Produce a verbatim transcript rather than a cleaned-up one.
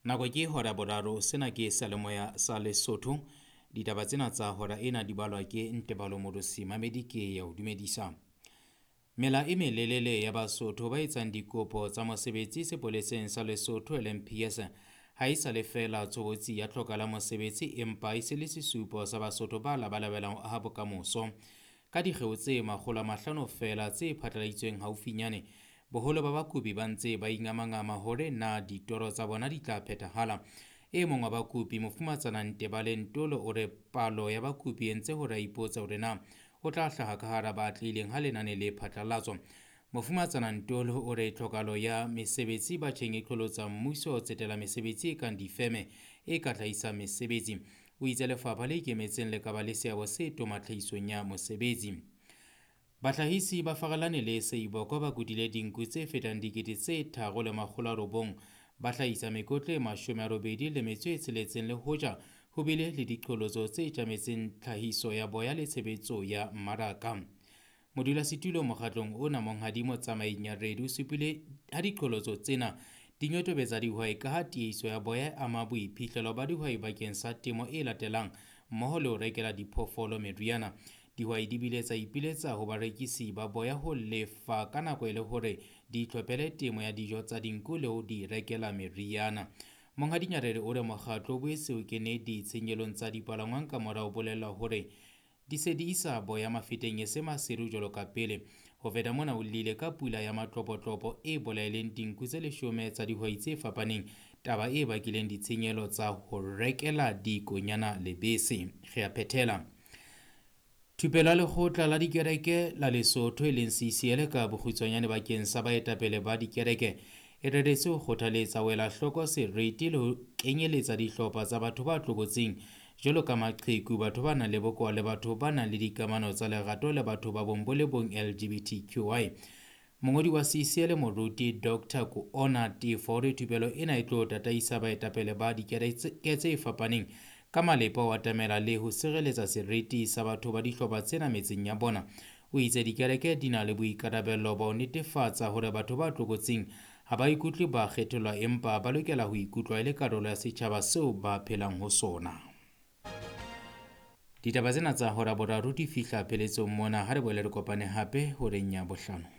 Nako ke hora boraro, sena ke seyalemoya sa Lesotho. Ditaba tsena tsa hora ena di balwa ke Ntebalo Modosi Mamedi ke ya o dumedisa. Mela e melelele ya Basotho ba etsang dikopo tsa mosebetsi sepoleseng sa Lesotho L M P S ha e sa le feela tshobotsi ya tlhoka la mosebetsi empa e se le sesupo sa Basotho ba labalabelang ho aha bokamoso. Ka dikgeo tse makgolo a mahlano feela tse phatlaladitsweng haufinyane, boholo ba bakopi ba ntse ba ingamangama hore na ditoro tsa bona di tla phethahala. E mong wa bakopi, Mofumatsana Ntebale Ntolo, o re palo ya bakopi e ntse hore a ipotse hore na o tla hlaha ka hara ba atlehileng ha lenane le phatlalatswa. Mofumatsana Ntolo o re tlhokahalo ya mesebetsi batjheng e qholotsa mmuso ho tsetela mesebetsi e kang difeme e ka hlahisang mesebetsi. O itse lefapha le ikemetseng le ka ba le seabo se toma tlhahisong ya mosebetsi. Bahlahisi ba Farelane le Seiboko ba kutile dinku tse fetang dikete tse tharo le makgolo a robong, ba hlahisa mekotla e mashome a robedi le metso e tsheletseng le hoja ho bile le diqholotso tse tjametseng tlhahiso ya boya le tshebetso ya mmaraka. Modulasetulo mokgatlong ona Monghadi Motsamai Nyaredi o supile ha diqholotso tsena di nyotobetsa dihwai ka ha tiehiso ya boya e ama boiphihlelo ba dihwai bakeng sa temo e latelang mmoho le ho rekela diphoofolo meriana. Dihwai di bile tsa ipiletsa ho barekisi ba boya ho lefa ka nako e le hore di itlhophele temo ya dijo tsa dinku le ho di rekela meriana. Monghadi Nyaredi o re mokgatlo o boetse o kene ditshenyelong tsa dipalangwang ka mora ho bolellwa hore di se di isa boya mafeteng e se maseru jwalo ka pele. Ho feta mona o llile ka pula ya matlopotlopo e bolaileng dinku tse leshome tsa dihwai tse fapaneng, taba e bakileng ditshenyehelo tsa ho rekela dikonyana lebese. Re a phethela. Thupelo ya lekgotla la dikereke la Lesotho e leng C C L ka bokgutshwanyane bakeng sa baetapele ba dikereke e reretswe ho kgothaletsa ho ela hloko seriti le ho kenyeletsa dihlopha tsa batho ba tlokotsing jwalo ka maqheku, batho ba nang le bokowa le batho ba nang le dikamano tsa lerato le batho ba bong bo le bong L G B T Q I. Mongodi wa C C L Moruti Doctor Koona Tefo o re thupelo ena e tlo tataisa baetapele ba dikereke tse fapaneng ka malepa ho atamela le ho sireletsa seriti sa batho ba dihlopha tsena metseng ya bona. O itse dikereke di na le boikarabello ba ho netefatsa hore batho ba tlokotsing ha ba ikutlwe ba kgethollwa empa ba lokela ho ikutlwa e le karolo ya setjhaba seo ba phelang ho sona. Ditaba tsena tsa hora boraro di fihla pheletsong mona. Ha re boele re kopane hape horeng ya bohlano.